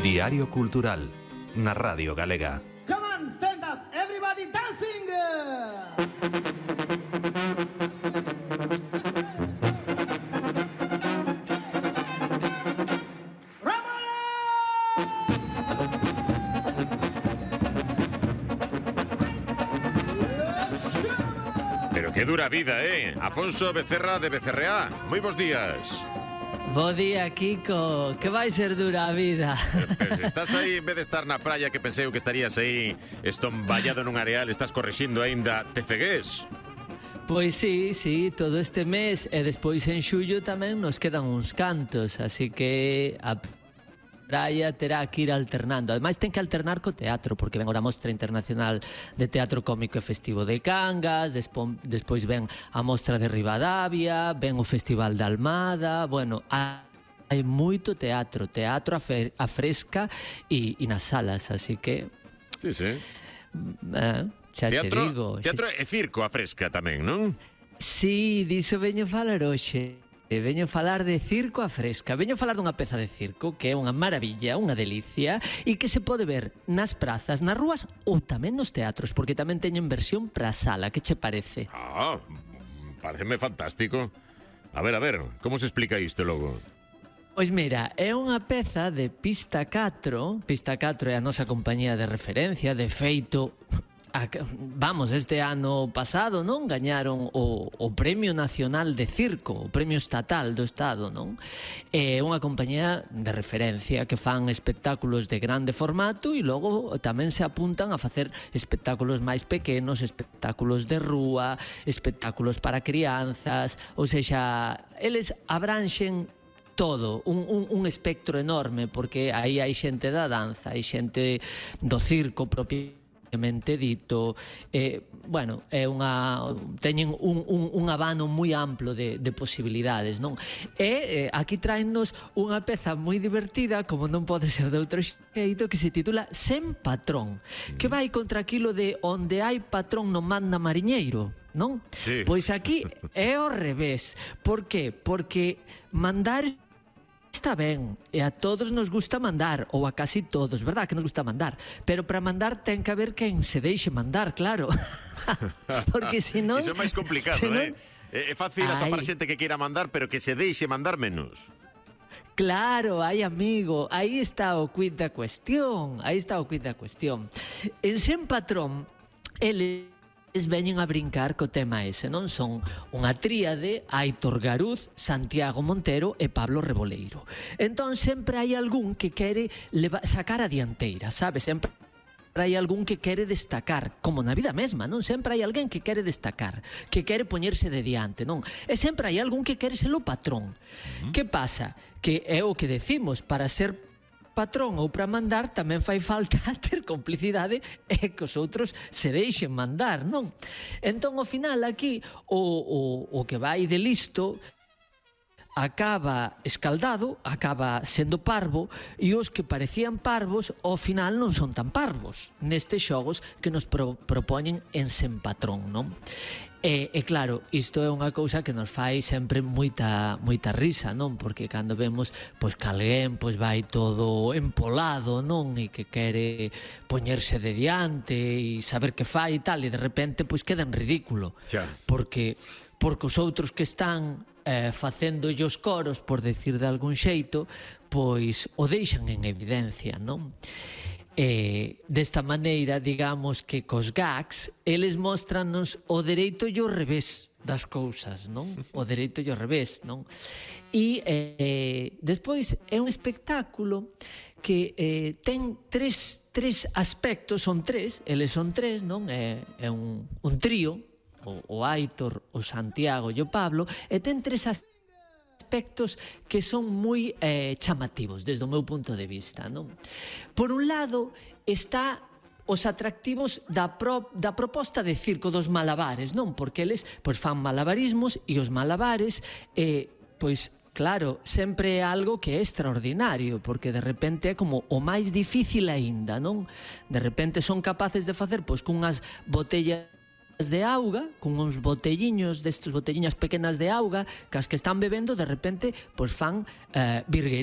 Diario Cultural, na Radio Galega. Come on, stand up, everybody dancing! Pero que dura vida, Afonso Becerra de Becerreá. Moi bons días. Bo día, Kiko. Que vai ser dura a vida? Pero se estás aí, en vez de estar na praia, que pensei que estarías aí estomballado nun areal, estás corrixindo aínda, te cegués? Pois sí, todo este mes e despois en xullo tamén nos quedan uns cantos, así que a praia terá que ir alternando. Ademais ten que alternar co teatro, porque ven a Mostra Internacional de Teatro Cómico e Festivo de Cangas, despois ven a Mostra de Ribadavia, ven o Festival de Almada, bueno, hai moito teatro a fresca e nas salas, así que... Sí. Xa che digo. Teatro e circo a fresca tamén, non? Sí, diso veño falar hoxe. Veño falar de circo a fresca. Veño falar dunha peza de circo que é unha maravilla, unha delicia, e que se pode ver nas prazas, nas rúas ou tamén nos teatros, porque tamén teñen versión para a sala. Que che parece? Pareceme fantástico. A ver, como se explica isto logo? Pois mira, é unha peza de Pista 4. Pista 4 é a nosa compañía de referencia. De feito, este ano pasado, non? Gañaron o Premio Nacional de Circo, o Premio Estatal do Estado, non? É unha compañía de referencia que fan espectáculos de grande formato e logo tamén se apuntan a facer espectáculos máis pequenos, espectáculos de rúa, espectáculos para crianzas, ou sexa, eles abranxen todo, un espectro enorme, porque aí hai xente da danza, hai xente do circo propiamente dito, bueno, é teñen un abano moi amplo de posibilidades, non? E aquí traennos unha peza moi divertida, como non pode ser de outro xeito, que se titula Sen Patrón, que vai contra aquilo de onde hai patrón non manda mariñeiro, non? Sí. Pois aquí é ao revés. Por qué? Porque mandar está ben, e a todos nos gusta mandar, ou a casi todos, verdad que nos gusta mandar, pero para mandar ten que haber quen se deixe mandar, claro. Porque senón... Iso é máis complicado, É fácil atopar xente que queira mandar, pero que se deixe mandar menos. Claro, amigo, aí está o quid da cuestión, En Sen Patrón, eles veñen a brincar co tema ese, non? Son unha tríade, Aitor Garuz, Santiago Montero e Pablo Reboleiro. Entón sempre hai algún que quere sacar a dianteira, sabes? Sempre hai algún que quere destacar, como na vida mesma, non? Sempre hai alguén que quere destacar, que quere poñerse de diante, non? E sempre hai algún que quere ser o patrón. Que pasa? Que é o que decimos, para ser patrón ou para mandar tamén fai falta ter complicidade e que os outros se deixen mandar, non? Entón, ao final, aquí, o que vai de listo acaba escaldado, acaba sendo parvo, e os que parecían parvos, ao final non son tan parvos nestes xogos que nos propoñen en Sen Patrón, non? E claro, isto é unha cousa que nos fai sempre moita risa, non? Porque cando vemos pois que alguén vai todo empolado, non? E que quere poñerse de diante e saber que fai e tal, e de repente pois queda en ridículo. Porque os outros que están facendo os coros, por decir de algún xeito, pois o deixan en evidencia, non? Desta maneira, digamos que cos gags eles mostranos o dereito e o revés das cousas, non? O dereito e o revés, non? E despois é un espectáculo que ten tres aspectos, eles son tres, non? É un trío, o Aitor, o Santiago e o Pablo, e ten tres aspectos que son moi chamativos desde o meu punto de vista, non? Por un lado está os atractivos da proposta de circo dos malabares, non? Porque eles pois fan malabarismos e os malabares pois claro, sempre é algo que é extraordinario, porque de repente é como o máis difícil aínda, non? De repente son capaces de facer pois cunhas botellas de auga, con uns botelliños destes botelliñas pequenas de auga, que as que están bebendo de repente pois fan virguería.